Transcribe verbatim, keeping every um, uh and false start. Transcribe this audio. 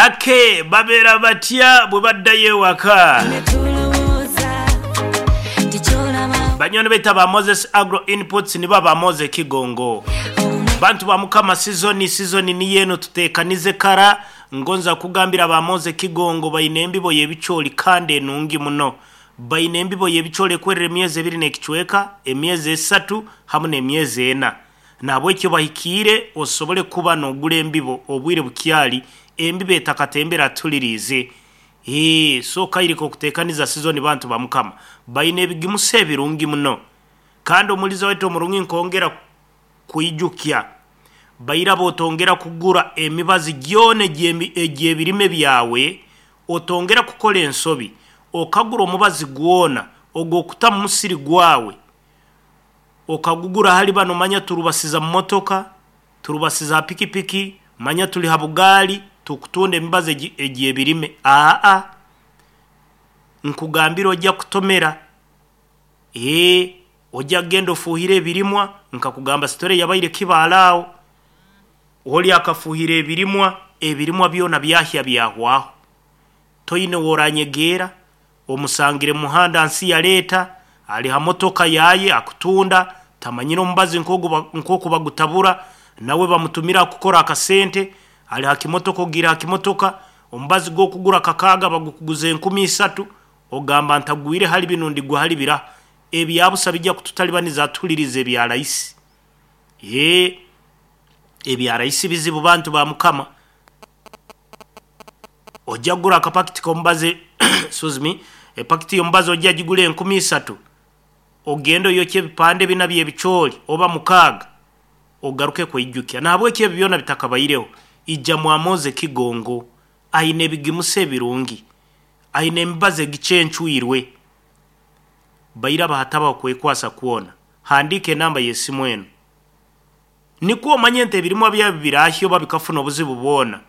Ake babeera batya bwe baddayo ewaka? Banywani baita ba Moses Agro Inputs, nibo ba Moses Kigongo. Bantu ba Mukama, sizoni sizoni ni yeno, tutekanize kara. Ngonza kugambira ba Moses Kigongo baine embibo y'ebicooli kandi enungi muno. Baine embibo y'ebicooli ekwerera emyezi ebiri n'ekicweka, emyezi esatu hamu n'emyezi ena. Nahabwekyo bahikiire osobole kuba n'ogura embibo obwire bukyali, embibo etakatembera atuliriize. Ee, so kairika okutekaniza sizoni. Bantu ba Mukama, baine ebigimusa ebirungi muno. Kandi omuliza waitu omurungi, nkongera kwijukya bairaba otongera kugura emibazi gyona egy'ebirime byawe. Otongera kukora ensobi okagura omubazi gwona ogw'okuta mu musiri gwawe, okagugura hali bano, manya turubasiza mu motoka, turubasiza ha pikipiki, manya tuli ha bugaali, tukutunda emibazi egy'ebirime. Aa, nkugambira ojja kutomera. Ee, ojja kugenda ofuuhire ebirimwa. Nkakugamba sitore yabaire kibaala aho, oli akafuuhira ebirimwa, ebirimwa byona byahya byahwaho. Toine woranyegeera, omusangire muhanda nsi yaleeta ali ha motoka yaye akutunda, tamanyire omubazi nk'oku bagutabura, nawe bamutumira kukora akasente, ali ha kimotoka, ogiire ha kimotoka, omubazi gw'okugura kakaaga bagukuguza enkumi isatu. Ogamba ntagwire hali binu, ndigwa hali biraha? Ebyabusa bijja kututalibaniza. Atuhuliriza ebya rahisi. Ee, ebya rahisi bizibu. Bantu ba Mukama, ojja kugura akapakiti k'omubazi, excuse me, epakiti y'omubazi ojja gigura enkumi isatu, ogende oyokye ebipande bina by'ebicooli oba mukaaga, ogaruke kweijukya. Nahabwekyo ebi byona bitakabaireho, ija mwamoze Kigongo, aine ebigimusa ebirungi, aine emibazi egicencwirwe. Bairaba hatabaho kwekwasa kwona, handiika enamba y'esimu eno nikwo omanye nti ebirimwa byawe birahya oba bikafuna obuzibu bwona.